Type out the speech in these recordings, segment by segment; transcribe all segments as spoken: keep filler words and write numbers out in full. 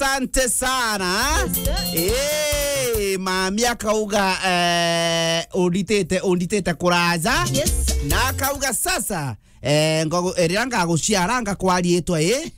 Asante sana. Yes, sir. Eh, mami akauga, eh, unditite, unditite kuraja. Yes. Na akauga sasa, eh, ngogo-, eh, riria ngaguciara ngakwa riitwa, eh?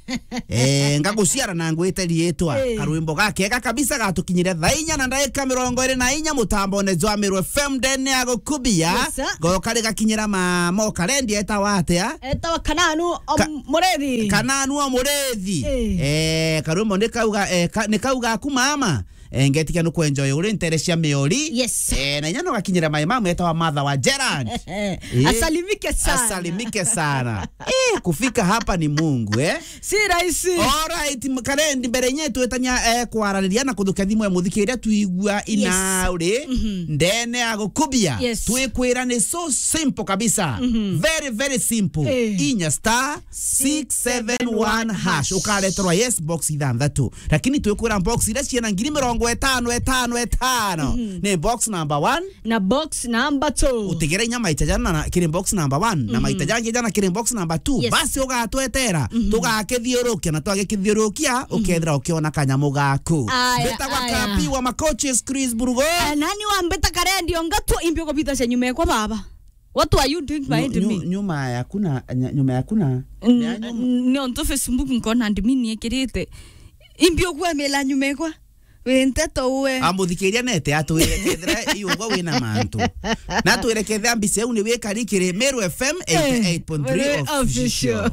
Eh, ngaguciara na ngwite riitwa. Eh. Karwimbo gakega kabisa gatukinyire thaa inya na ndagika mirongo iri na inya mutambone jwa Meru F M ndene ya gukubia. Yes, sir. Goka rigakinyira ma, mo karendi etawa atia? Etawa Kananu o Ka-, Murethi. Kananu o Murethi. Eh. Eh, karwimbo ni kauga, eh, ka-, ni kauga aku mama. Eh, ngetikia nukwenjoy uri ntere cia miori. Yes. Eh, na inya nogakinyira my mom etawa Martha wa Gerard. Eh. Asalimike sana. Asalimike sana. Eh, kufika hapa ni Mungu, eh? Si rahisi. Alright, m-, karendi mbere inya twetania, eh, kwarariria na kuthukia thimu ya muthikiria tuigua. Yes. Inauri. Mhm. Ndene ya gukubia. Yes. Twikwira ni so simple kabisa. Mhm. Very, very simple. Eh. Inya star six seven one hash. Ukareterwa yes box ithanthatu. Lakini twikwira box iria ciena ngiri mirongo itano, itano, itano. Mhm. Ni box number one. Na box number two. Utigere inya maita jana na kiri box number one. Na, mhm, maita jangi jana kiri box number two. Yes. Basi ugatwetera. Mhm. Tugakithiurukia na twagikithiurukia, mhm, ukethira ukiona kanyamu gaku. Aya, mbitagwa aya. Kapi wa Makoches Chris Burugo. Eh, nani wa mbita karendi onga tu imbi ukubita cia nyuma ekwa baba? What are you doing behind me? Nyu-, nyu-, nyuma ya kuna, nya-, nyuma ya kuna. N-, ya nyuma. N-, nontu Facebook nkona ndimi niekirite. Imbi ukwemela nyuma ekwa? Wi nteto uwe. Amuthikiria nete atwire kethira iugwa wina mantu. Na atwire kethira mbica iu ni wikari kiri Meru F M eighty-eight point three. Eh, official. Official.